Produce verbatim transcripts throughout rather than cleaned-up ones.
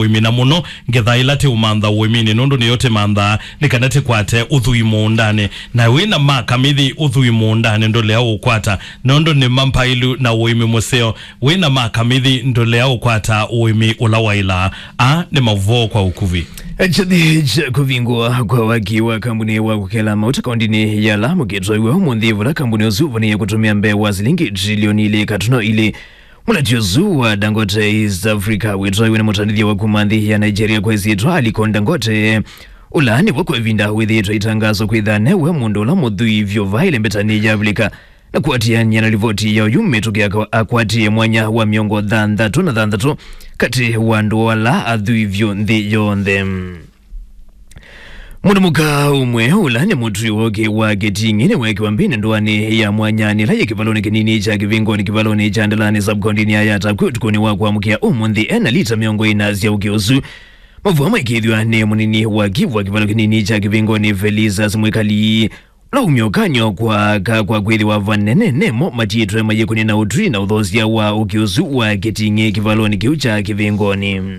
ũĩmi, na mũno ngetha ĩla tĩũmantha ũĩminĩ, nũndũ nĩyo tĩmanthaa nĩ kana tĩkwate ũthwii mũũndanĩ. Na wĩ na makamithi ũthwii mũũndanĩ ndũlea ũkwata, nũndũ nĩ mampailu na ũĩmi mũseo. Wĩ na makamithi ndũlea ũkwata ũĩmi ũla waĩlaa. Aa nĩ maũvoo kwa ũkuvĩ. Kyathĩ kya kũvingũa kwa waki wa kambuni wa kũkela mauta kaũndĩnĩ ya Lamu kĩtwaiwe ũmũnthĩ, vala kambuni ũsu ũvonĩie kũtũmĩa mbee wa silingi trilioni ilĩ katuno ilĩ. Mũlati ũsu wa Dangote East Africa wĩtwaiwe nĩ mũtandĩthya wa kuma nthĩ ya Nigeria kwa ĩsyĩtwa Aliko Dangote, ũla nĩvo kwa ĩvinda wĩthĩĩtwe itangaso kwĩtha newe mũndũ ũla mũthwii vyũ vaĩle mbetanĩ ya Avilika. Na kũatĩanĩa na livoti ya ũyu mĩtũkĩ, aka- akwatie mwanya wa mĩongo thanthatũ na thanthatũ katĩ wa andũ ala athwii vyũ nthĩ yonthe. Mũndũ mũka ũmwe ũla nĩ mũtwi wa ũkĩ wa Kĩting'ĩ nĩwekiwa mbĩnĩ ndũanĩ ya mwanya nĩ ĩla yĩ kĩvalonĩ kĩnini kya Kĩvingoni, kĩvalonĩ kya Ndalani, sub-kaũndĩnĩ ya Yatakwi, ũtukũnĩ wa kwamũkĩa ũmũnthĩ, ena lita mĩongo ĩna sya ũkĩ ũsu. Mavua maikĩĩthw'a nĩ mũnini wa kivu wa kĩvalo kĩnini kya Kĩvingoni, Felicitas Mwikali, ũla umya ũkany'o kwa aka kwa kwĩthĩwa vanene nemo matiĩtwe mayĩkũnĩ na ũtwi na ũthosya wa ũkĩ ũsu wa Kĩting'ĩ kĩvalonĩ kĩu kya Kĩvingoni.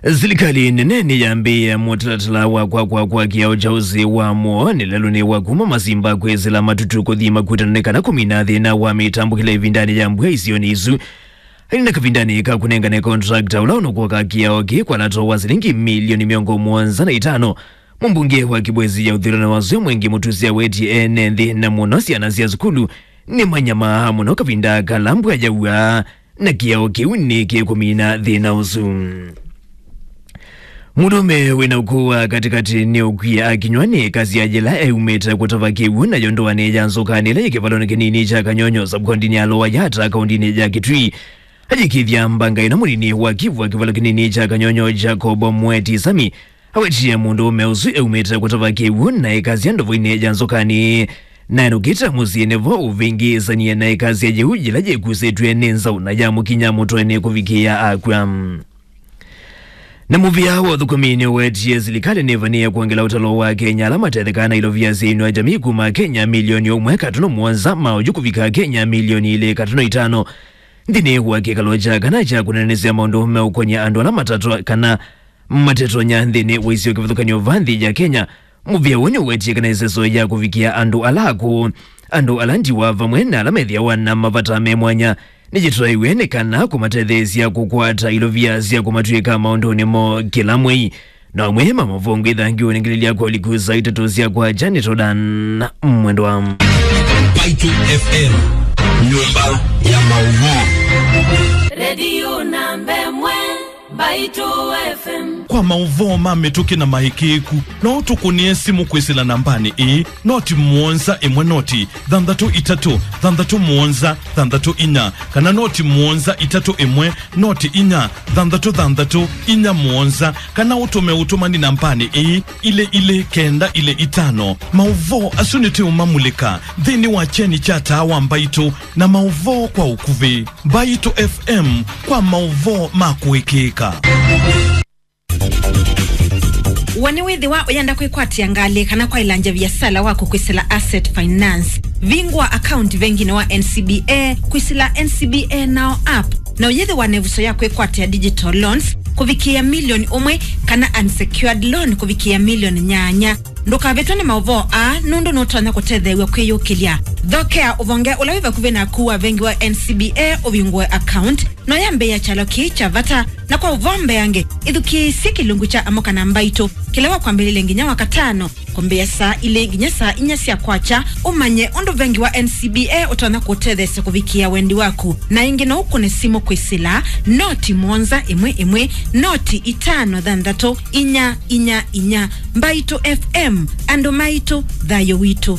Silikalĩ nene nĩyambĩĩe mũtalatala wa kwakwa kwa kĩao kya ũsĩ wa mũoanĩ lelũnĩ wa kuma Masimba kwĩsĩla Matutu kũthi Makutanĩ kana kũmina thĩna wa mĩtambũkĩle ĩvindanĩ ya mbua isionĩ isu. Aina kavindanĩ ka kũnengane contractor ũla ũnũkũka kĩao kĩ kwa lato wa silingi milioni mĩongo mũonza na itano, mũmbunge wa Kibwezi ya ũthilano wa Zwe Mwengi Mutusi awetie ene nthĩ na mũno syana sya sukulu nĩ manyamaa mũno kavinda kala mbua yaua, na kĩao kĩu nĩkĩkũmina thĩna ũsu. Mũndũũme wĩna ũkũũ wa katĩkatĩ nĩũkwie akinywa nĩ ĩkasya yĩla eumĩte kũtava kĩw'ũ nayo ndũanĩ ya Nzũkanĩ ĩla yĩ kĩvalonĩ kĩnini kya Kanyonyo, sub-kaũndĩnĩ ya Lower Yatta, kaũndĩnĩ ya Kitui. Ayĩkĩĩthya mbanga ĩno, mũnini wa kivu wa kĩvalo kĩnini kya Kanyonyo, Jacob Mweti Sami, awetie mũndũũme ũsu eumĩte kũtava kĩw'ũ na ĩkasya ndovoinĩ ya Nzũkanĩ, na enũkĩte mũsyĩ nĩvo ũvĩngĩĩsanie na ĩkasya yĩu yĩla yĩkusĩtw'e nĩ nzaũ na yamũkinya mũtwenĩ kũvikĩĩa akw'a. Na mũvĩa wa ũthũkũmi nĩũwetie silikalĩ nĩvanĩe kwongela ũtalo wa Kenya ala matethekaa na ilovia sya inua jamii kuma Kenya milioni ũmwe katuno mũonza ma oyu kũvika Kenya milioni ilĩ katuno itano nthĩnĩ wa kĩkalo kya kana kya kũnenanĩsya maũndũ meũkony'a andũ ala matatwa kana matetonya nthĩnĩ wa isio kĩvathũkany'o va nthĩ ya Kenya. Mũvĩa ũũ nĩũwetie kana ĩseso ya kũvikĩa andũ ala akũũ, andũ ala ndiwa vamwe na ala methĩawa na mavata me mwanya nĩyĩtwaĩwe nĩ kana kũmatetheesya kũkwata ilovia sya kũmatw'ĩka maũndũnĩ moo kĩla mwei. Na amwe ma mavongo ĩthangiwe nĩ ngilĩlya kwa ũliku saa itatũ sya kwakya nĩ Todan Mwendwa. Mbaitũ F M, nyũmba ya maũvoo. Redio namba ĩmwe, Mbaitũ F M. Kwa maũvoo ma mĩtũkĩ na maĩkĩĩku, no ũtũkũnĩe simũ kwĩsĩla nambanĩ ĩĩ, noti mũonza ĩmwe noti thanthatũ itatũ thanthatũ mũonza thanthatũ inya, kana noti mũonza itatũ ĩmwe noti inya thanthatũ thanthatũ inya mũonza, kana ũtũme ũtũmani nambanĩ ĩĩ, ilĩ ilĩ kenda ilĩ itano. Maũvoo asu nĩtũũmamulĩka nthĩnĩ wa kyeni kya taa wa Mbaitũ na maũvoo kwa ũkuvĩ. Mbaitũ F M kwa maũvoo ma kũĩkĩĩka. We nĩwĩthĩwa ũyenda kwĩkwatĩa ngalĩ kana kwaĩlangya viasala waku kwĩsĩla Asset Finance? Vingũa akaunti venginĩ wa N C B A kwĩsĩla N C B A Now app, na ũyĩthĩwa na ĩvuso ya kwĩkwatĩa digital loans kũvikĩĩa milioni ũmwe kana unsecured loan kũvikĩĩa milioni nyanya. Ndũkavĩtwe nĩ maũvoo aa, nũndũ nũtonya kũtetheew'a kwĩyũkĩlya. Thokea ũvonge ũla wĩ vakuvĩ naku wa vengi wa N C B A ũvingũe akaunti. No yambĩĩa kyalo kĩĩ kya vata, na kwa ũvoo mbeange, ĩthukĩĩsye kĩlungu kya Amũka na Mbaitũ, kĩla wa kwambĩlĩlya nginya wa katano, kwambĩĩa saa ilĩ nginya saa inya sya kwakya, ũmanye ũndũ vengi wa N C B A ũtonya kũũtetheesya kũvikĩĩa wendi waku. Na ĩngĩ no ũkũne simũ kwĩsĩla noti mũonza ĩmwe ĩmwe, noti itano thanthatũ, inya inya inya. Mbaitũ F M, andũ maitũ, thayũ witũ.